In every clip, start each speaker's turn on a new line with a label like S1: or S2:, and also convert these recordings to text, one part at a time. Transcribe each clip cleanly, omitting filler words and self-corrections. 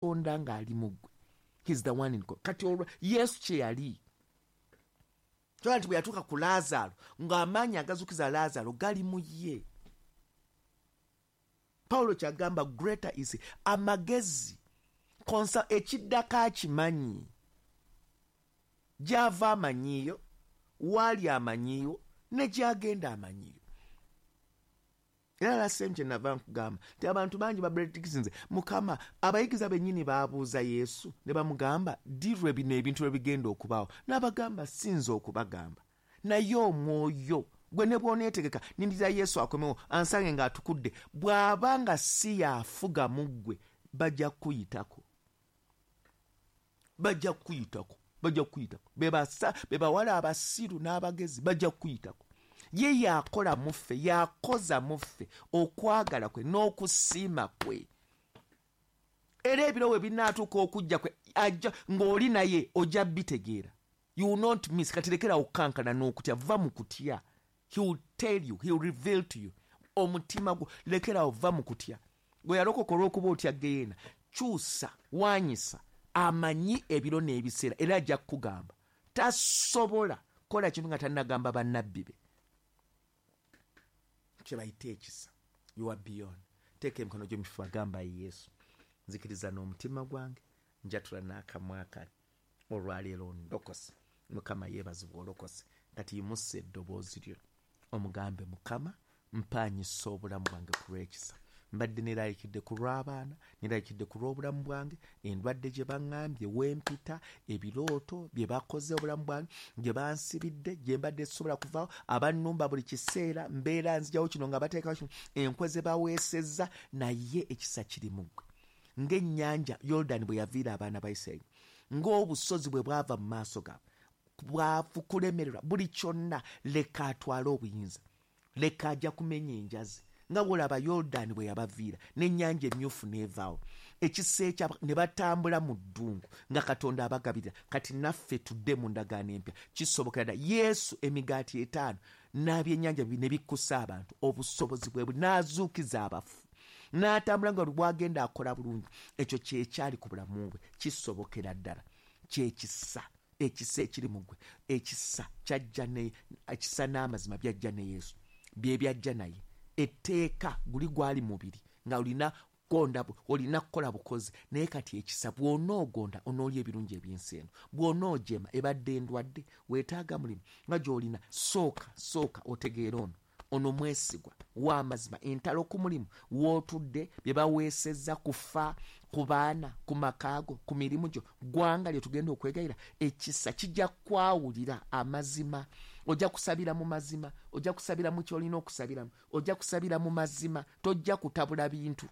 S1: Katonda ng'ali mu ggwe. He's the one in God. Kati olwa Yesu kye yali, kyola nti bwe yatuuka ku Laazaalo, ng'amaanyi agazukiza Laazaalo gali mu ye. Pawulo kyagamba, greater is amagezi konsa ekiddako akimanyi, gy'ava amanyiiyo, waali amanyiiwo, ne gy'agenda amanyiiyo. Era last time kye nava nkugamba nti abantu bangi babredictinze Mukama. Abayigiza bennyini baabuuza Yesu ne bamugamba, ddi lwe bino ebintu lwe bigenda okubaawo? N'abagamba, sinza okubagamba, naye omwoyo gwe ne bw'oneetegeka, nindira Yesu akomewo ansange ng'atukudde. Bw'aba nga si y'afuga mu ggwe, bajja kukuyitako, bajja kukuyitako, bajja kukuyitako. Be bawala abasiru n'abagezi, bajja kukuyitako. Ye yakola mu ffe, yakoza mu ffe okwagala kwe n'okusiima kwe. Era ebiro we binaatuuka okujja kwe ajja ng'oli naye, ojja bitegeera. You will not miss. Kati lekera okukankana n'okutya, va mu kutya. He will tell you, he will reveal to you. Omutima gwo lekerawo, va mu kutya. Gwe yalokoka olw'okuba otya geyeena, kyusa, wanyisa. Amanyi ebiro n'ebiseera, era ajja kukugamba. Tasobola kukola kintu nga tannagamba bannabbi be. Kye bayita ekisa. You are beyond. Teeka emikono gyo mifuba, gamba, Yesu, nzikiriza n'omutima gwange, njatula n'akamwa kange, olwaleero ndokose. Mukama yeebazibwa, olokose. Kati yimusa eddoboozi lyo omugambe, Mukama, mpaanyisa obulamu bwange ku lw'ekisa. Mbadde neraalikidde ku lw'abaana, neraalikidde ku lw'obulamu bwange, endwadde gye baŋŋambye, wempita, ebirooto bye bakoze, obulamu bwange gye bansibidde, gye mbadde sisobola kuvaawo, abannumba buli kiseera, mbeera nzijawo kino nga bateekawo kino, enkwe ze baweesezza. Naye ekisa kiri mu ggwe. Ng'ennyanja Yoludaani bwe yaviira abaana ba Isirayiri, ng'obusozi bwe bwava mu maaso gaabwe, bwavu, kulemererwa, buli kyonna, leka atwale obuyinza. Leka ajja kumenya enjazi nga bwolaba Yoludaani bwe yabaviira n'Ennyanja Emyufu n'evaawo, ekisa ekya ne batambula mu ddungu nga Katonda abagabirira. Kati naffe tudde mu ndagaano empya, kisobokera ddala. Yesu emigaati etaano n'abyennyanja bibiri ne bikkusa abantu, obusobozi bwe buli n'azuukiza abafu, n'atambula nga buli bwagenda akola bulungi. Ekyo kyekyali ku bulamu bwe, kisobokera ddala. Kyekisa, ekisa ekiri mu ggwe. Ekisa kyajja ne ekisa n'amazima byajja ne Yesu, bye byajja naye. Etteeka guli gwali mubiri nga olina gonda, olina kukola bukozi, naye kati ekisa, bw'onoogonda onoolya ebirungi eby'ensi eno. Bw'onoojema, ebadde endwadde, weetaaga mulimu nga gy'olina, sooka sooka otegeere ono mwesigwa w'amazima. Entalo ku mulimu w'otudde, bye baweesezza kufa ku baana, ku makaago, ku mirimu gyo, ggwanga lye tugenda okwegayira, ekisa kijja kwawulira amazima. Ojja kusabira mu mazima, ojja kusabira mu kyolina okusabiramu, ojja kusabira mu mazima, tojja kutabula bintu.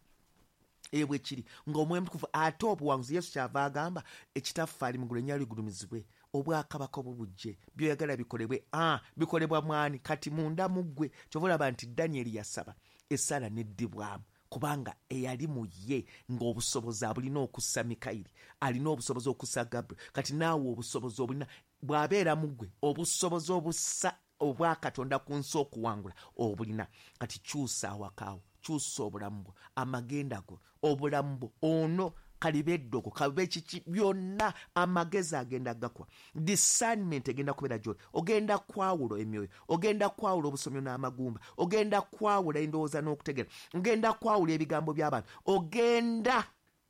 S1: Ebwe kiri ng'Omwoyo Mutukuvu ate obuwanguzi. Yesu kyava agamba, Ekitaffe ali mugulu, erinnya ligulumizibwe, obwakabaka bwo bujje, byoyagala bikolebwe. A bikolebwa mwani? Kati munda mu ggwe. Kyova olaba nti Danyeri yasaba essala neddibwamu, kubanga eyali mu ye ng'obusobozi abulina okussa Mikayiri, alina obusobozi okussa Gabriel. Kati naawe obusobozi obulina bw'abeera mu ggwe, obusobozi obussa obwakatonda ku nsi okuwangula obulina. Kati kyusa awakaawo, kyusa obulamu bwo, amagenda go, obulamu bwo, ono kaliba eddogo, kabe kiki, byonna amagezi agenda gakuwa. Discernment egenda kubeera gyoli. Ogenda kwawula emyoyo, ogenda kwawula obusomyo n'amagumba, ogenda kwawula endowooza n'okutegeera, ogenda kwawula ebigambo by'abantu, ogenda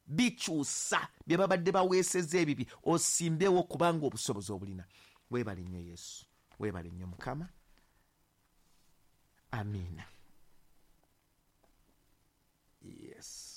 S1: bikyusa bye babadde baweeseza ebibi, osimbewo, kubanga obusobozi obulina. Weebale nnyo Yesu, weebale nnyo Mukama. Amiina. Yes.